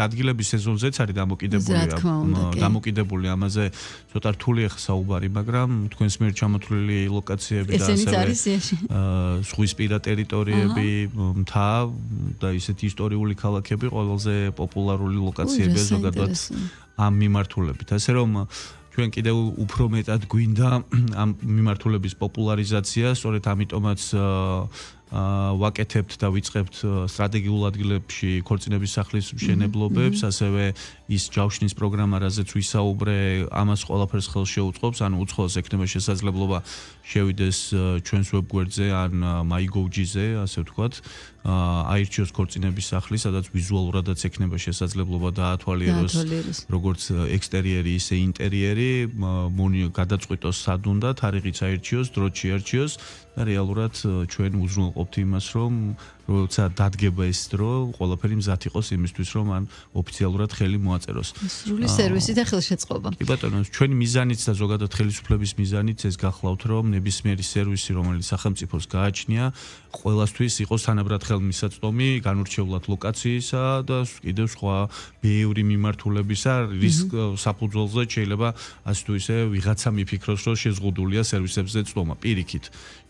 ადგილების სეზონზეც არის დამოკიდებული ამაზე ცოტა რთული ახლა საუბარი, მაგრამ თქვენს მიერ ჩამოთვლილი ლოკაციები და ასევე ზღვისპირა ტერიტორიები, მთა და ისეთი ისტორიული ქალაქები ყველაზე პოპულარული ლოკაციებია ზოგადად ამ მიმართულებით. ასე რომ ჩვენ კიდევ უფრო მეტად გვინდა ამ მიმართულების პოპულარიზაცია, სწორედ ამიტომაც ვაკეთებთ და ვიწყებთ სტრატეგიულ ადგილებში ქორწინების სახლის მშენებლობებს, ასევე ის ჯავშნის პროგრამა, რაზეც ვისაუბრე, ამას ყველაფერს ხელს შეუწყობს, ანუ უცხოელს ექნება შესაძლებლობა შევიდეს ჩვენს ვებგვერდზე ან MyGovG-ზე, ასე ვთქვათ, აირჩიოს ქორწინების სახლი, სადაც ვიზუალურადაც ექნება შესაძლებლობა დაათვალიეროს როგორც ექსტერიერი, ისე ინტერიერი, გადაწყვიტოს სად უნდა, თარიღიც აირჩიოს, დროც შეარჩიოს და რეალურად ჩვენ უზრუნველყოფთ იმას, რომ როცა დადგება ეს დრო, ყველაფერი მზად იყოს იმისთვის, რომ ან ოფიციალურად ხელი მოაწეროს. სრული სერვისი და ხელშეწყობა. კი ბატონო, ჩვენი მიზანიც და ზოგადად ხელისუფლების მიზანიც ეს გახლავთ, რომ ნებისმიერი სერვისი, რომელიც სახელმწიფოს გააჩნია, ყველასთვის იყოს თანაბრად ხელმისაწვდომი, განურჩევლად ლოკაციისა და კიდევ სხვა ბევრი მიმართულებისა, რის საფუძველზე შეიძლება ასე თუ ისე ვიღაცა მიფიქროს, რომ შეზღუდულია სერვისებზე წვდომა. პირიქით,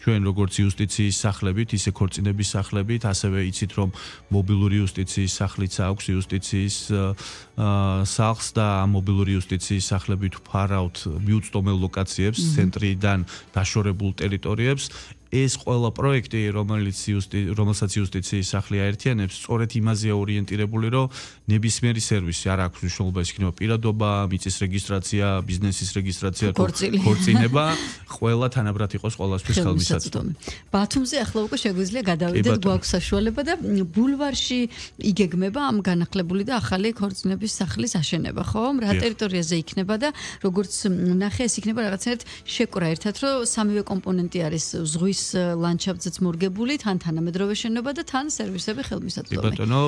ჩვენ როგორც იუსტიციის სახლებით, ისე ქორწინების სახლებით, ასევე იცით, რომ მობილური იუსტიციის სახლიც აქვს იუსტიციის სახლს და ამ მობილური იუსტიციის სახლებით ვფარავთ მიუწვდომელ ლოკაციებს, ცენტრიდან დაშორებულ ტერიტორიებს. ეს ყველა პროექტი, რომელსაც იუსტიციის სახლი აერთიანებს, სწორედ იმაზეა ორიენტირებული, რომ ნებისმიერი სერვისი არ აქვს მნიშვნელობა, ეს იქნება პირადობა, მიწის რეგისტრაცია, ბიზნესის რეგისტრაცია, ქორწინება, ყველა თანაბრად იყოს ყველასთვის ხელმისაწვდომი. ბათუმზე ახლა უკვე შეგვიძლია გადავიდეთ, გვაქვს საშუალება და ბულვარში იგეგმება ამ განახლებული და ახალი ქორწინების სახლის აშენება, ხო? რა ტერიტორიაზე იქნება და როგორც ნახე, ეს იქნება რაღაცნაირად შეკვრა ერთად, რომ სამივე კომპონენტი არის ზღვის ლანდშაფტზეც მორგებული, თან თანამედროვე შენობა და თან სერვისები ხელმისაწვდომი. ბატონო,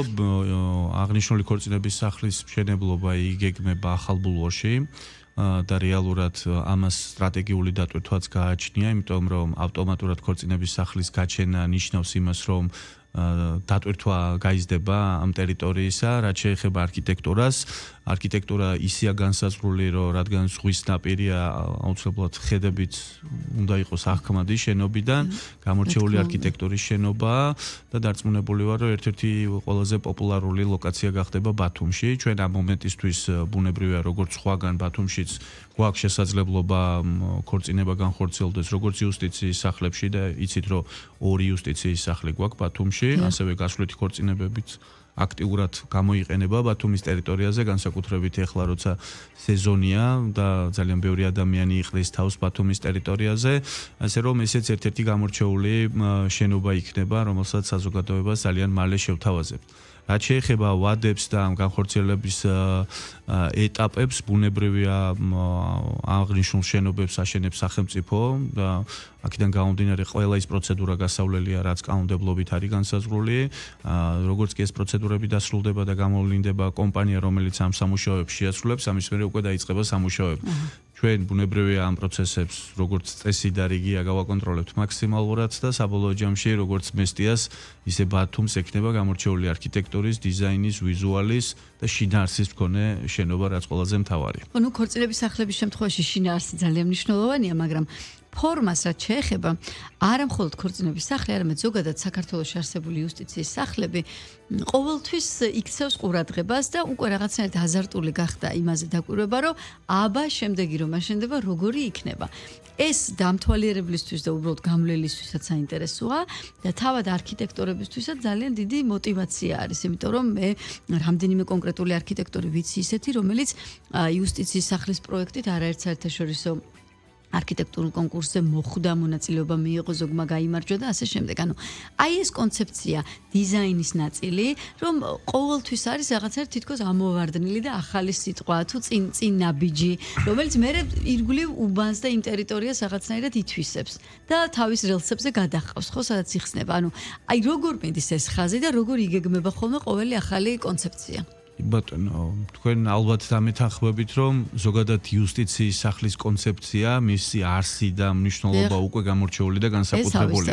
აღნიშნული ქორწინების სახლის მშენებლობა იგეგმება ახალ ბულვარში და რეალურად ამას სტრატეგიული დატვირთვაც გააჩნია, იმიტომ რომ ავტომატურად ქორწინების სახლის გაჩენა ნიშნავს იმას, რომ დატვირთვა გაიზრდება ამ ტერიტორიისა, რაც შეეხება არქიტექტურას. არქიტექტურა ისეა განსაზღვრული, რომ რადგან ზღვის ნაპირია, აუცილებლად ხედებით უნდა იყოს აღქმადი შენობიდან, გამორჩეული არქიტექტურის შენობაა და დარწმუნებული ვარ, რომ ერთ-ერთი ყველაზე პოპულარული ლოკაცია გახდება ბათუმში. ჩვენ ამ მომენტისთვის ბუნებრივია, როგორც სხვაგან ბათუმშიც გვაქვს შესაძლებლობა ქორწინება განხორციელდეს, როგორც იუსტიციის სახლებში და იცით, რომ ორი იუსტიციის სახლი გვაქვს ბათუმში, ასევე გასვლითი ქორწინებებიც აქტიურად გამოიყენება ბათუმის ტერიტორიაზე, განსაკუთრებით ეხლა როცა სეზონია და ძალიან ბევრი ადამიანი იყრის თავს ბათუმის ტერიტორიაზე, ასე რომ ესეც ერთ-ერთი გამორჩეული შენობა იქნება, რომელსაც საზოგადოებას ძალიან მალე შევთავაზებთ. რაც შეეხება ვადებს და განხორციელების ეტაპებს, ბუნებრივია აღნიშნულ შენობებს აშენებს სახელმწიფო და აქედან გამომდინარე ყველა ის პროცედურა გასავლელია, რაც კანონმდებლობით არის განსაზღვრული. როგორც კი ეს პროცედურები დასრულდება და გამოვლინდება კომპანია, რომელიც ამ სამუშაოებს შეასრულებს, ამის მერე უკვე დაიწყება სამუშაოები. ჩვენ ბუნებრივია ამ პროცესებს, როგორც წესი და რიგია გავაკონტროლებთ მაქსიმალურად და საბოლოო ჯამში, როგორც მესტიას, ისე ბათუმს ექნება გამორჩეული არქიტექტურის, დიზაინის, ვიზუალის და შინაარსის მქონე შენობა, რაც ყველაზე მთავარია. ნუ ქორწინების სახლების შემთხვევაში შინაარსი ძალიან მნიშვნელოვანია, მაგრამ ფორმას რაც შეეხება, არა მხოლოდ ქორწინების სახლი, არამედ ზოგადად საქართველოში არსებული იუსტიციის სახლები ყოველთვის იქცევს ყურადღებას და უკვე რაღაცნაირად აზარტული გახდა იმაზე დაკვირვება, რომ აბა შემდეგი რომ აშენდება, როგორი იქნება. ეს დამთვალიერებლისთვის და უბრალოდ გამლელისთვისაც საინტერესოა და თავად არქიტექტორებისთვისაც ძალიან დიდი мотиваცია არის, იმიტომ რომ მე რამდენიმე კონკრეტული არქიტექტორი ვიცი ისეთი, რომელიც იუსტიციის სახლის პროექტით არაერთ საერთაშორისო არქიტექტურულ კონკურსზე მოხვდა, მონაწილეობა მიიღო, ზოგმა გაიმარჯვა და ასე შემდეგ. ანუ აი ეს კონცეფცია, დიზაინის ნაწილი, რომ ყოველთვის არის რაღაცნაირად თითქოს ამოვარდნილი და ახალი სიტყვა, თუ წინ ნაბიჯი, რომელიც მერე ირგვლივ უბანს და იმ ტერიტორიას რაღაცნაირად ითვისებს და თავის რელსებზე გადაჰყავს, ხო, სადაც იხსნება. ანუ აი როგორ მიდის ეს ხაზი და როგორ იგეგმება ხოლმე ყოველი ახალი კონცეფცია. ბატონო, თქვენ ალბათ დამეთანხმებით, რომ ზოგადად იუსტიციის სახლის კონცეფცია, მისი არსი და მნიშვნელობა უკვე გამორჩეული და განსაკუთრებული.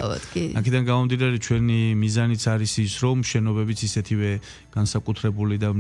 აქედან გამომდინარე, ჩვენი მიზანიც არის ის, რომ შენობებიც ისეთივე განსაკუთრებული და